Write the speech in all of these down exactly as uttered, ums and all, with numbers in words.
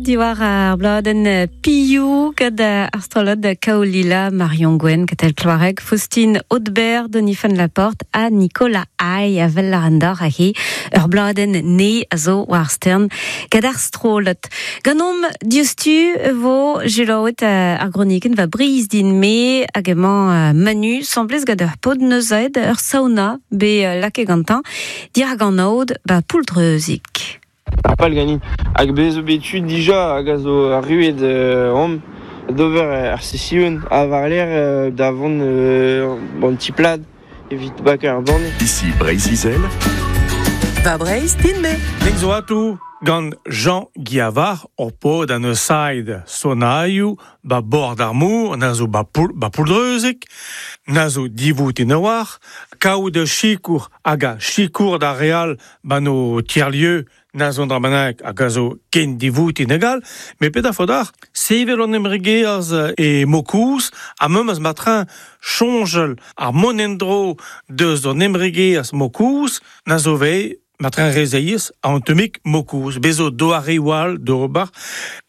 Diwar ar bladenn Piou gant ar strollad Kaolila, Marion Gwen, Katell Kloareg, Faustine Audebert, Denis Fan Laporte ha Nicolas Ay a vel ar andor a he ur bladenn ne a zo war stern gant ar strollad. Ganomp diouzhtu vo selaouet ar gronikenn va briz din me hag emañ Manu semblez gant ur pod neuzaet ur sauna be lake gantañ dirak an aod ba pouldreuzik. Ar pal ganin. Hag bez zo bet tud dija hag a zo arruet euh, om d'ober ar session a war l'air da vont euh, bon ti plad evit bak ar banne. Ici Breizh-Izel. Va Breizh din me. Ning zo atou gant Jean Guiavar o pod an eus sonaioù ba bord ar mour, na zo ba, poul, ba pouldreuzik, na zo divout in oar, kaout de chikour hag a chikour da real ba no tiers-lieu na zo dra hag a zo ken divout in egal, me pet a fodar, sevel an emregeaz e mokouz, ha meum az matrin chonjel ar monendro deus an emregeaz mokouz, na zo vei matrin rezeiz a an temik mokouz. Bezo doare wal d'ober,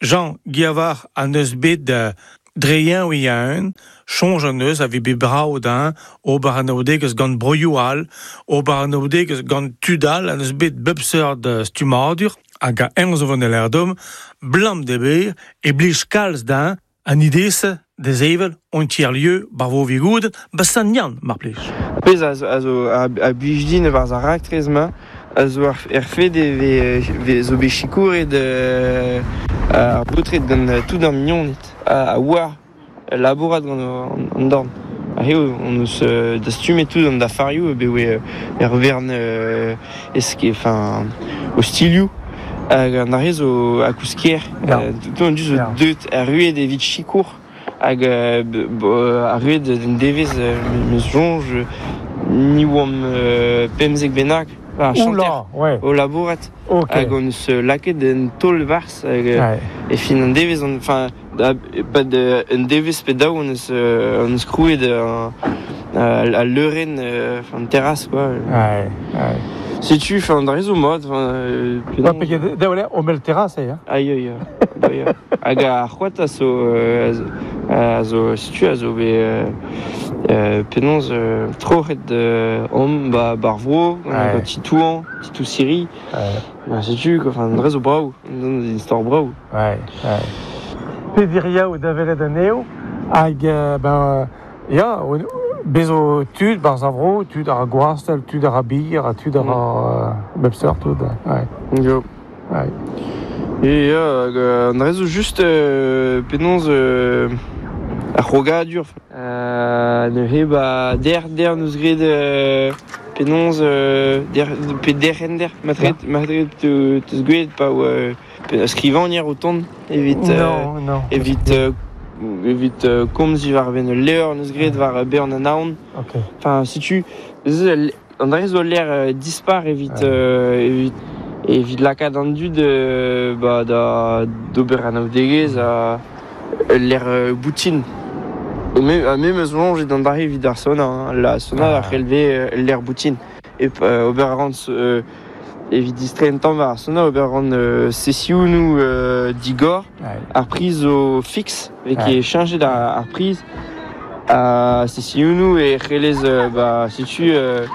Jean Guiavar an eus bet de dreien oi un, chonj an eus a vi bet brao d'un, ober an aodegez gant broioù all, ober an aodegez gant tudal, an eus bet bep seurt stumadur, hag a en zo van el blam de ber, e blij kalz d'un, an idese des evel on tiers-lieu bar vo vigoud, ba san Yann, mar plij. Pez a zo, a zo a, a blij din war ar raktrez ma, a zo ar, er fed e ve, ve zo bet chikouret euh, ar baotred gant tout ar mignoned, a, a oar labourat gant an, an dorn. A eo, on eus euh, dastumet tout an da farioù, be oe er vern euh, eske, enfin, o stilioù, hag an arre zo a kouskier. Ja. Euh, tout an du zo Ja. deut ar rued evit chikour, hag euh, ar rued d'un devez euh, meus jonj, ni oam euh, pemzek bennak, ar chanter Oula, ouais. o labourat. Ok. Hag on eus laket un taol vars hag Ouais. e fin an devez on, enfin da, pad un devez pe daou on eus on eus krouet un a leuren enfin terrasse quoi. Ouais, ouais. Setu, enfin da rezo mod, enfin euh, Ouais, pege daoule o mel terrasse, hein. Aïe aïe. Aïe. Hag ar c'hoat a zo euh, a zo setu a zo bet euh, penaos euh, troc'het euh, om ba bar vro, Ouais. gant titouan, titou siri. Ouais. Ba setu, quoi, enfin dre zo brao, an istor brao. Ouais, ouais. Pediria o davelet an eo, hag, euh, ben, ya, o, bezo tud, bar zavro, tud ar gwastel, tud ar bir, tud ar mm. bep seurt, tud, ouais. Yo. Ouais. Et euh, an dre zo just euh, penaos euh, ar c'hrogadur. Euh, neuze ba der der neus graet euh, penaos euh, der pe derc'hender matret matret te teus gwelet pa oa euh, pe skrivagner o tont evit euh, Non, non. evit euh, evit euh, komz war ben ul levr neus graet war bern an aon. Ok. Enfin, setu an dre zo l'air euh, dispar evit Ouais. euh, evit evit lakaat an dud euh, ba da d'ober an aodegez a l'air euh, boutin. Me, a me meus longe d'an dare evit ar sauna, hein. La sauna Ah. a releve euh, l'air boutin. E euh, ober a ran euh, evit distren tamm war ar sauna, ober a ran euh, sesiounou euh, digor, Ouais. ar priz zo fixe, vez Ouais. ket cheñchet ar, ar priz, a sesiounou e c'hellez euh, ba setu euh,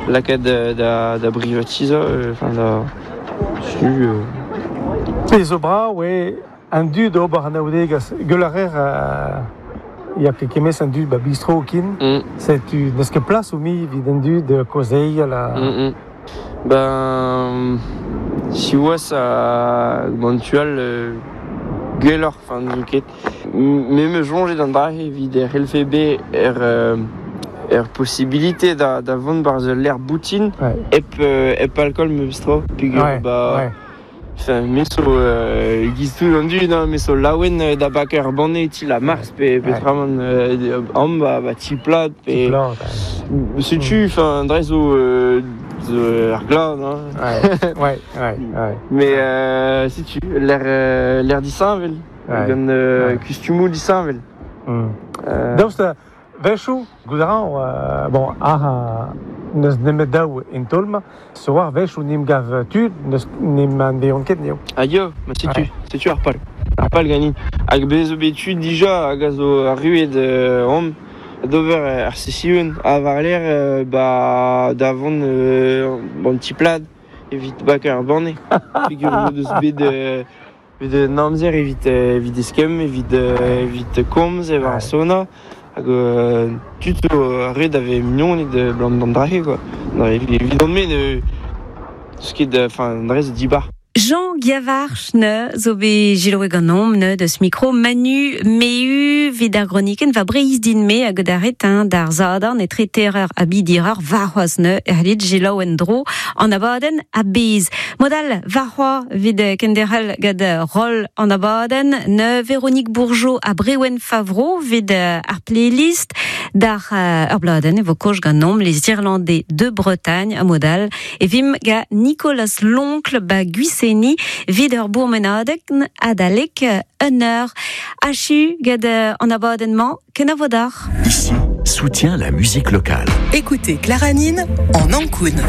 lakaat da, da, da privatizañ, euh, enfin da setu euh, Pe zo bra, ouais, an dud ober an aodegez, gueul a rer, euh, ya ket kemez an dud ba bistro kin, mm. setu n'eus ket plas o mi evit an dud de kozeial a... Mm, mm. Ben, si oas a mantual euh, gwelloc'h, enfin, n'eus ket. Me me jonge d'an dra evit er L F B er, euh, er possibilité da, da vont barz l'air boutin Ouais. hep, euh, hep alcool me bistro. Pugur, Ouais, ba, ouais. enfin, me so euh, giz tout an dud, hein, me so laouen euh, da bak ur banne ti la mars pe, pe Ouais. tramant euh, am ba, ba ti plat pe... Plat, ouais. Setu, enfin, dre zo, euh, zo ar glad, hein. Ouais, ouais, ouais, ouais. Mais euh, setu, l'air euh, l'air disheñvel, Ouais. gant euh, Ouais. kustumou disheñvel. Mm. Euh, Daoust, vechou, goût a ran, euh, bon, ar, Neus nemet daou en tolma, so war vech ou nim gav tud, neus nim an veon ket neo. Ah yo, ma setu, ouais. Setu ar pal. Ar pal ganin. Hag bez zo bet tud dija hag a zo arruet euh, om d'ober ar session a war l'air euh, ba d'avant euh, bon petit plad evit bak ar banne. Figur zo deus bet euh, bet an amzer evit evit eskemm, evit evit komz e war sona. Hag euh, tud zo arruet ave mignon de blant d'an drahe quoi. Non, evit an me ne ce ket enfin an dre zo dibar. Jean Giavarch ne zo bet jiloe ganom ne deus micro Manu Meu vid ar groniken va breiz din me hag daret hein, d'ar zadan etre terreur a bidireur varhoaz ne erlit jiloe en dro an abaden a bez. Modal varhoa vid kenderel gad rol an abaden ne Véronique Bourgeot a Brewen Favreau vid ar playlist d'ar ur bladen e vo koj ganom les Irlandais de Bretagne a modal e vim ga Nicolas Loncle ba Guissé vid ur bourmenadeg adalek un eur. Achu gad an abadennement kenavodar. Ici, soutient la musique locale. Écoutez Clara Nine en Ancoun.